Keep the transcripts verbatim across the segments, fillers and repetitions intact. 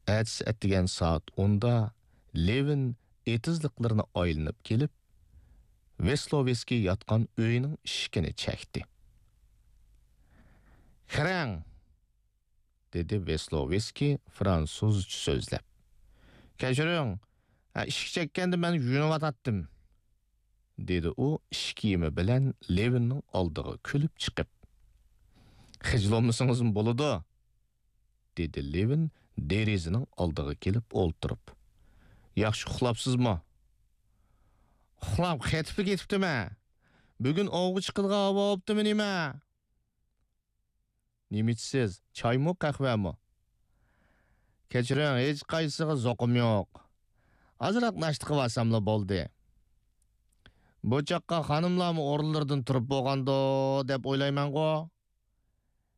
ئەتىسى ئەتىگەن سائەت ئوندا لېۋىن ئېتىزلىقلىرىنى ئايلىنىپ كېلىپ، ۋېسلوۋېسكىي ياتقان ئۆيىنىڭ ئىشىكىنى چەكتى. «كىرىڭ!» دېدى ۋېسلوۋېسكىي فرانسۇزچە سۆزلەپ. «كەچۈرۈڭ، ھە، ئىشىك چەككەندە مەن يۇيۇنۇۋاتاتتىم.» دېدى ئۇ ئىش كىيىمى بىلەن لېۋىننىڭ ئالدىغا كۈلۈپ چىقىپ. «خىجىل بولمىسىڭىزمۇ بولىدۇ.» دېدى لېۋىن دېرىزىنىڭ ئالدىغا كېلىپ ئولتۇرۇپ. «ياخشى ئۇخلاپسىزمۇ؟» «ئۇخلاپ قېتىپلا كېتىپتىمەن. بۈگۈن ئوۋغا چىقىدىغان ھاۋا بوپتىمۇ نېمە؟» «نېمە ئىچىسىز؟ چايمۇ، قەھۋەمۇ؟» «كەچۈرۈڭ، ھېچقايسىسىغا زوقۇم يوق. ئازراق ناشتا قىلىۋالساملا بولدى. بۇ چاغقا خانىملارمۇ ئورۇنلىرىدىن تۇرۇپ بولغاندۇ دەپ ئويلايمەنغۇ.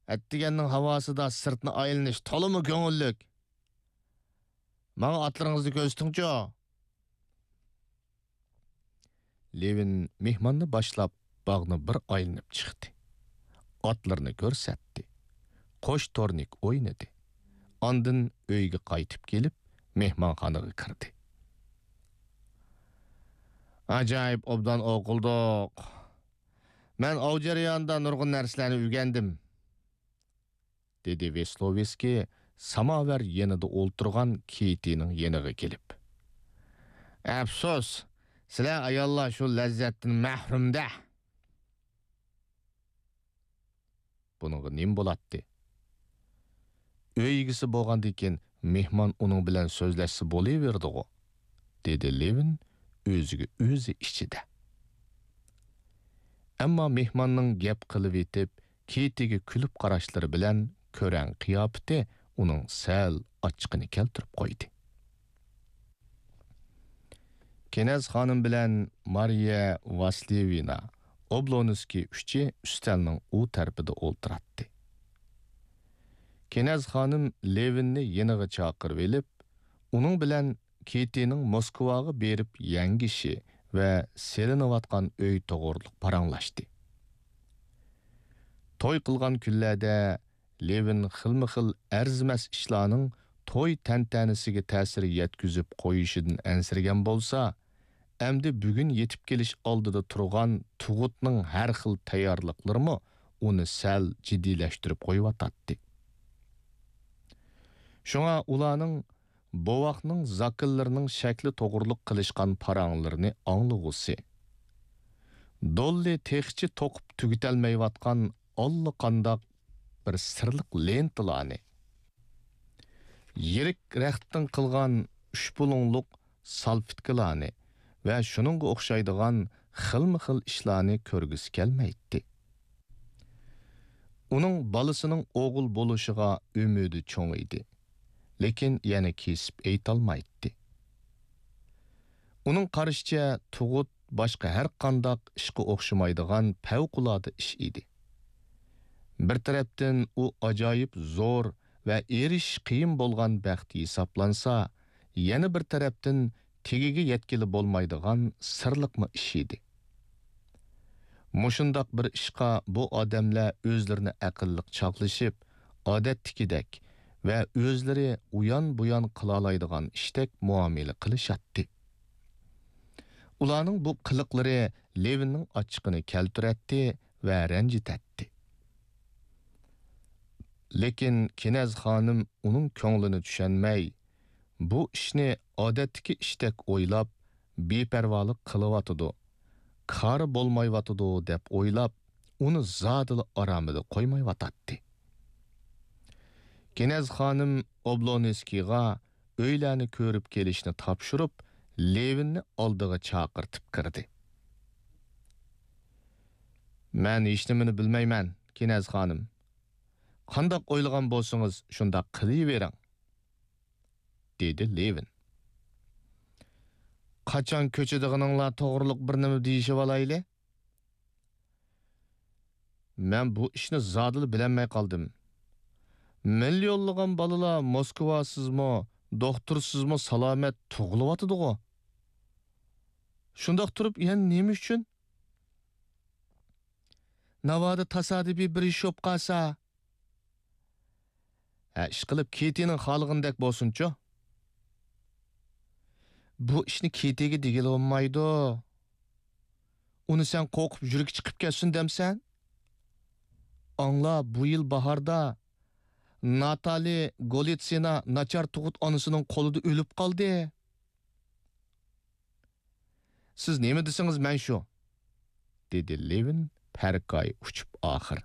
ئەتىگەننىڭ ھاۋاسىدا سىرتنى ئايلىنىش تولىمۇ كۆڭۈللۈك. ماڭا ئاتلىرىڭىزنى كۆرسىتىڭچۇ.» لېۋىن مېھماننى باشلاپ، باغنى بىر ئايلىنىپ چىقتى. ئاتلىرىنى كۆرسەتتى. قوش تورنىك ئوينىدى. ئاندىن ئۆيگە قايتىپ كېلىپ، مېھمانخانىغا كىردى. «ئاجايىپ ئوبدان ئوقۇلدۇق. مەن ئاۋ جەريانىدا نۇرغۇن نەرسىلەرنى ئۆگەندىم.» دېدى ۋېسلوۋېسكىي ساماۋار يېنىدا ئولتۇرغان كېتىنىڭ يېنىغا كېلىپ. «ئەپسۇس، سىلەر ئاياللار شۇ لەززەتتىن مەھرۇم-دە.» بۇنىڭغا نېمە بولاتتى؟ ئۆي ئىگىسى بولغاندىن كېيىن مېھمان ئۇنىڭ بىلەن سۆزلەشسە بولۇۋېرىدىغۇ، دېدى لېۋىن ئۆزىگە ئۆزى ئىچىدە. ئەمما مېھماننىڭ گەپ قىلىۋېتىپ، كېتىگە كۈلۈپ قاراشلىرى بىلەن كۆرەڭ قىياپىتى ئۇنىڭ سەل ئاچچىقىنى كەلتۈرۈپ قويدى. كېنەز خانىم بىلەن مارىيە ۋاسلېۋىنا ئوبلونسكىي ئۈچى ئۈستەلنىڭ ئۇ تەرىپىدە ئولتۇراتتى. كېنەز خانىم لېۋىننى يېنىغا چاقىرىۋېلىپ، ئۇنىڭ بىلەن كېتىنىڭ موسكۋاغا بېرىپ يەڭگىشى ۋە سېلىنىۋاتقان ئۆي توغرۇلۇق پاراڭلاشتى. توي قىلغان كۈنلەردە لېۋىن خىلمۇ خىل ئەرزىمەس ئىشلارنىڭ توي تەنتەنىسىگە تەسىر يەتكۈزۈپ قويۇشىدىن ئەنسىرىگەن بولسا، ئەمدى بۈگۈن يېتىپ كېلىش ئالدىدا تۇرغان تۇغۇتنىڭ ھەر خىل تەييارلىقلىرىمۇ ئۇنى سەل جىددىيلەشتۈرۈپ قويۇۋاتاتتى. شۇڭا ئۇلارنىڭ بوۋاقنىڭ زاكىلىرىنىڭ شەكلى توغرۇلۇق قىلىشقان پاراڭلىرىنى ئاڭلىغۇسى، دوللى تېخىچە توقۇپ تۈگىتەلمەيۋاتقان ئاللىقانداق بىر سىرلىق لېنتىلارنى، يىرىك رەختتىن قىلغان ئۈچ بۇلۇڭلۇق سالفېتكىلارنى ۋە شۇنىڭغا ئوخشايدىغان خىلمۇ خىل ئىشلارنى كۆرگۈسى كەلمەيتتى. ئۇنىڭ بالىسىنىڭ ئوغۇل بولۇشىغا ئۈمىدى چوڭ ئىدى، لېكىن يەنە كېسىپ ئېيتالمايتتى. ئۇنىڭ قارىشىچە، تۇغۇت باشقا ھەر قانداق ئىشقا ئوخشىمايدىغان پەۋقۇلئاددە ئىش ئىدى. بىر تەرەپتىن ئۇ ئاجايىپ زور ۋە ئېرىشىش قىيىن بولغان بەخت ھېسابلانسا، يەنە بىر تەرەپتىن تېگىگە يەتكىلى بولمايدىغان سىرلىقمۇ ئىش ئىدى. مۇشۇنداق بىر ئىشقا بۇ ئادەملەر ئۆزلىرىنى ئەقىللىق چاغلىشىپ، ئادەتتىكىدەك ۋە ئۆزلىرى ئۇيان-بۇيان قىلالايدىغان ئىشتەك مۇئامىلە قىلىشاتتى. ئۇلارنىڭ بۇ قىلىقلىرى لېۋىننىڭ ئاچچىقىنى كەلتۈرەتتى ۋە رەنجىتەتتى. لېكىن كېنەز خانىم ئۇنىڭ كۆڭلىنى چۈشەنمەي، بۇ ئىشنى ئادەتتىكى ئىشتەك ئويلاپ، بىپەرۋالىق قىلىۋاتىدۇ، كارى بولمايۋاتىدۇ دەپ ئويلاپ، ئۇنى زادىلا ئارامىدا قويمايۋاتاتتى. كېنەز خانىم ئوبلونسكىيغا ئۆيلەرنى كۆرۈپ كېلىشنى تاپشۇرۇپ، لېۋىننى ئالدىغا چاقىرتىپ كىردى. مەن ھېچنېمىنى بىلمەيمەن، كېنەز خانىم. قانداق ئويلىغان بولسىڭىز، شۇنداق قىلىۋېرىڭ، دېدى لېۋىن. قاچان كۆچىدىغىنىڭلار توغرۇلۇق بىر نېمە دېيىشىۋالايلى. مەن بۇ ئىشنى زادىلا بىلەلمەي قالدىم. مىليونلىغان بالىلار موسكۋاسىزمۇ، دوختۇرسىزمۇ سالامەت تۇغۇلۇۋاتىدىغۇ. شۇنداق تۇرۇپ يەنە نېمە ئۈچۈن؟ ناۋادا تاسادىپىي بىر ئىش بولۇپ قالسا؟ ھە، ئىشقىلىپ، كېتىنىڭ خالىغىنىدەك بولسۇنچۇ. بۇ ئىشنى كېتىگە دېگىلى بولمايدۇ. ئۇنى سەن قورقۇپ يۈرىكى چىقىپ كەتسۇن دەمسەن؟ ئاڭلا، بۇ يىل باھاردا ناتالى گولىتسىنا ناچار تۇغۇت ئانىسىنىڭ قولىدا ئۆلۈپ قالدى. سىز نېمە دېسىڭىز، مەن شۇ، دېدى لېۋىن پەرقاي ئۇچۇپ ئاخىر.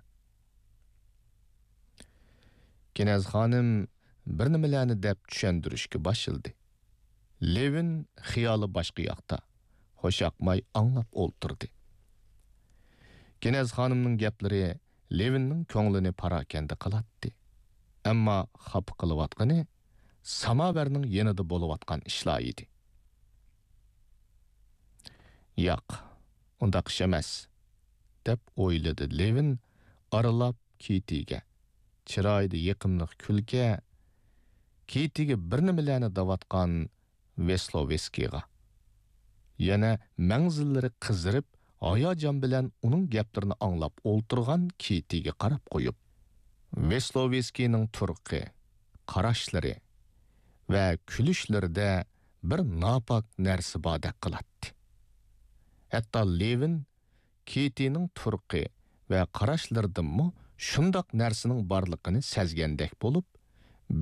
كېنەز خانىم بىر نېمىلەرنى دەپ چۈشەندۈرۈشكە باشلىدى. لېۋىن خىيالى باشقا ياقتا، خۇشياقماي ئاڭلاپ ئولتۇردى. كېنەز خانىمنىڭ گەپلىرى لېۋىننىڭ كۆڭلىنى پاراكەندە قىلاتتى. ئەمما خاپا قىلىۋاتقىنى ساماۋەرنىڭ يېنىدا بولۇۋاتقان ئىشلار ئىدى. ياق، ئۇنداق ئىش ئەمەس، دەپ ئويلىدى لېۋىن ئارىلاپ كېتىگە، چىرايىدا يېقىملىق كۈلكە، كېتىگە بىر نېمىلەرنى دەۋاتقان ۋېسلوۋېسكىيغا. يەنە مەڭزىللىرى قىزىرىپ، ھاياجان بىلەن ئۇنىڭ گەپلىرىنى ئاڭلاپ ئولتۇرغان كېتىگە قاراپ قويۇپ، ۋېسلوۋېسكىينىڭ تۇرقى، قاراشلىرى ۋە كۈلۈشلىرىدە بىر ناپاك نەرسە باردەك قىلاتتى. ھەتتا لېۋىن كېتىنىڭ تۇرقى ۋە قاراشلىرىدىنمۇ شۇنداق نەرسىنىڭ بارلىقىنى سەزگەندەك بولۇپ،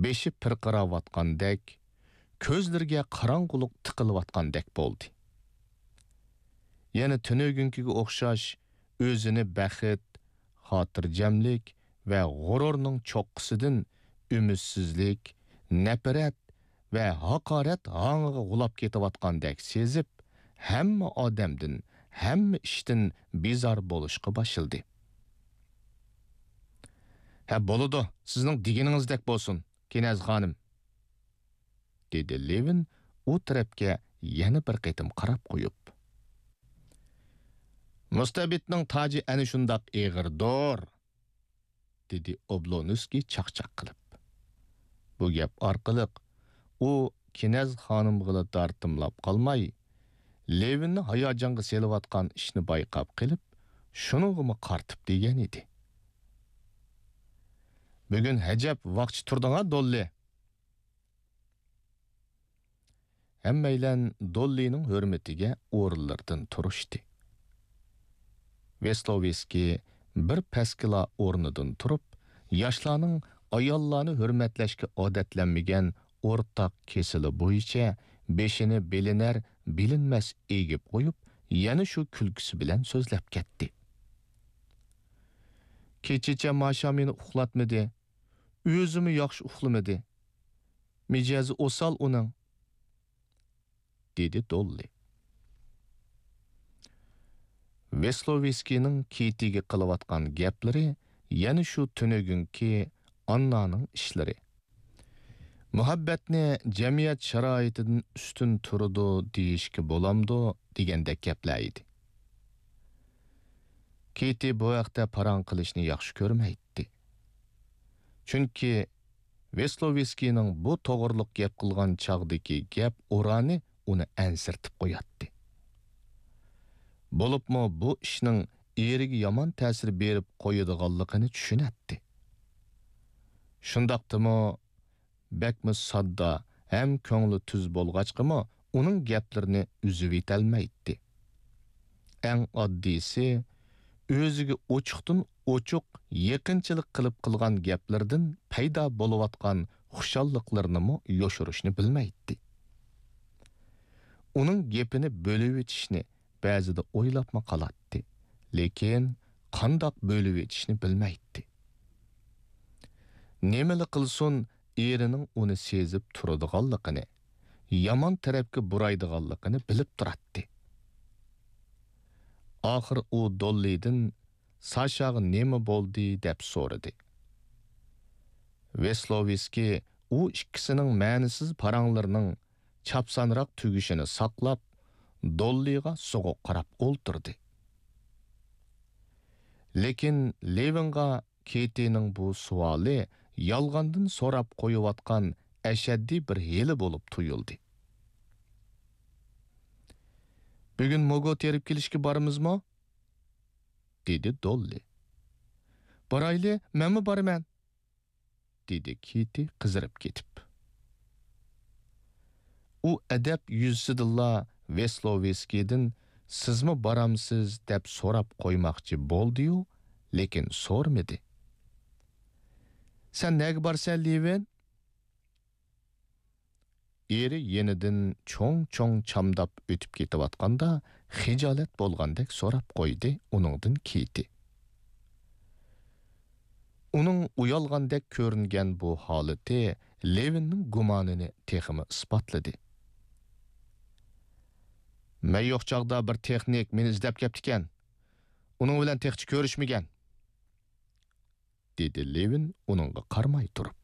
بېشى پىرقىراۋاتقاندەك، كۆزلىرىگە قاراڭغۇلۇق تىقىلىۋاتقاندەك بولدى. يەنە تۈنۈگۈنكىگە ئوخشاش ئۆزىنى بەخت، خاتىرجەملىك ۋە غۇرۇرنىڭ چوققىسىدىن ئۈمىدسىزلىك، نەپرەت ۋە ھاقارەت ھاڭىغا غۇلاپ كېتىۋاتقاندەك سېزىپ، ھەممە ئادەمدىن، ھەممە ئىشتىن بىزار بولۇشقا باشلىدى. ھە، بولىدۇ، سىزنىڭ دېگىنىڭىزدەك بولسۇن، كېنەز خانىم، دېدى لېۋىن ئۇ تەرەپكە يەنە بىر قېتىم قاراپ قويۇپ. مۇستەبىتنىڭ تاجى ئەنە شۇنداق ئېغىردۇر، دېدى ئوبلونسكىي چاقچاق قىلىپ. بۇ گەپ ئارقىلىق ئۇ كېنەز خانىمغىلا دارتىملاپ قالماي، لېۋىننى ھاياجانغا سېلىۋاتقان ئىشنى بايقاپ قېلىپ، شۇنىڭغىمۇ قارىتىپ دېگەن ئىدى. بۈگۈن ھەجەپ ۋاقچى تۇردۇڭا، دوللى؟ ھەممەيلەن دوللىنىڭ ھۆرمىتىگە ئورۇنلىرىدىن تۇرۇشتى. ۋېسلوۋېسكىي بىر پەسكىلا ئورنىدىن تۇرۇپ، ياشلارنىڭ ئاياللارنى ھۆرمەتلەشكە ئادەتلەنمىگەن ئورتاق كېسىلى بويىچە بېشىنى بىلىنەر بىلىنمەس ئېگىپ قويۇپ، يەنە شۇ كۈلكىسى بىلەن سۆزلەپ كەتتى. كېچىچە ماشامىنى ئۇخلاتمىدى، ئۆزىمۇ ياخشى ئۇخلىمىدى. مىجەزى ئوسال ئۇنىڭ، دېدى دوللى. ۋېسلوۋېسكىينىڭ كېتىگە قىلىۋاتقان گەپلىرى يەنە شۇ تۈنۈگۈنكى ئاننانىڭ ئىشلىرى. مۇھەببەتنى جەمئىيەت شارائىتىدىن ئۈستۈن تۇرىدۇ دېيىشكە بولامدۇ دېگەندەك گەپلەر ئىدى. كېتى بۇ ھەقتە پاراڭ قىلىشنى ياخشى كۆرمەيتتى. چۈنكى ۋېسلوۋېسكىينىڭ بۇ توغرىلىق گەپ قىلغان چاغدىكى گەپ ئورانى ئۇنى ئەنسىرىتىپ قوياتتى. بولۇپمۇ بۇ ئىشنىڭ ئېرىگە يامان تەسىر بېرىپ قويىدىغانلىقىنى چۈشىنەتتى. شۇنداقتىمۇ بەكمۇ ساددا ھەم كۆڭلى تۈز بولغاچقىمۇ ئۇنىڭ گەپلىرىنى ئۈزۈۋېتەلمەيتتى. ئەڭ ئاددىيسى، ئۆزىگە ئوچۇقتىن ئوچۇق يېقىنچىلىق قىلىپ قىلغان گەپلىرىدىن پەيدا بولۇۋاتقان خۇشاللىقلىرىنىمۇ يوشۇرۇشنى بىلمەيتتى. ئۇنىڭ گېپىنى بۆلۈۋېتىشنى بەزىدە ئويلاپمۇ قالاتتى، لېكىن قانداق بۆلۈۋېتىشنى بىلمەيتتى. نېمىلا قىلسۇن، ئېرىنىڭ ئۇنى سېزىپ تۇرىدىغانلىقىنى، يامان تەرەپكە بۇرايدىغانلىقىنى بىلىپ تۇراتتى. ئاخىر ئۇ دوللىدىن، «ساشاغا نېمە بولدى؟» دەپ سورىدى. ۋېسلوۋېسكىي ئۇ ئىككىسىنىڭ مەنىسىز پاراڭلىرىنىڭ چاپسانراق تۈگىشىنى ساقلاپ، دوللىغا سوغۇق قاراپ ئولتۇردى. لېكىن لېۋىنغا كېتىنىڭ بۇ سوئالى يالغاندىن سوراپ قويۇۋاتقان ئەشەددىي بىر ھىيلە بولۇپ تۇيۇلدى. «بۈگۈن موگو تېرىپ كېلىشكە بارىمىزمۇ؟» دېدى دوللى. «بارايلى، مەنمۇ بارىمەن.» دېدى كېتى قىزىرىپ كېتىپ. ئۇ ئەدەپ يۈزىسىدىنلا ۋېسلوۋېسكىيدىن «سىزمۇ بارامسىز؟» دەپ سوراپ قويماقچى بولدى-يۇ، لېكىن سورىمىدى. «سەن نەگە بارىسەن، لېۋىن؟» ئېرى يېنىدىن چوڭ-چوڭ چامداپ ئۆتۈپ كېتىۋاتقاندا، خىجالەت بولغاندەك سوراپ قويدى ئۇنىڭدىن كېتى. ئۇنىڭ ئۇيالغاندەك كۆرۈنگەن بۇ ھالىتى لېۋىننىڭ گۇمانىنى تېخىمۇ ئىسپاتلىدى. «مەن يوق چاغدا بىر تېخنىك مېنى ئىزدەپ كەپتىكەن. ئۇنىڭ بىلەن تېخىچە كۆرۈشمىگەن.» دېدى لېۋىن ئۇنىڭغا قارىماي تۇرۇپ.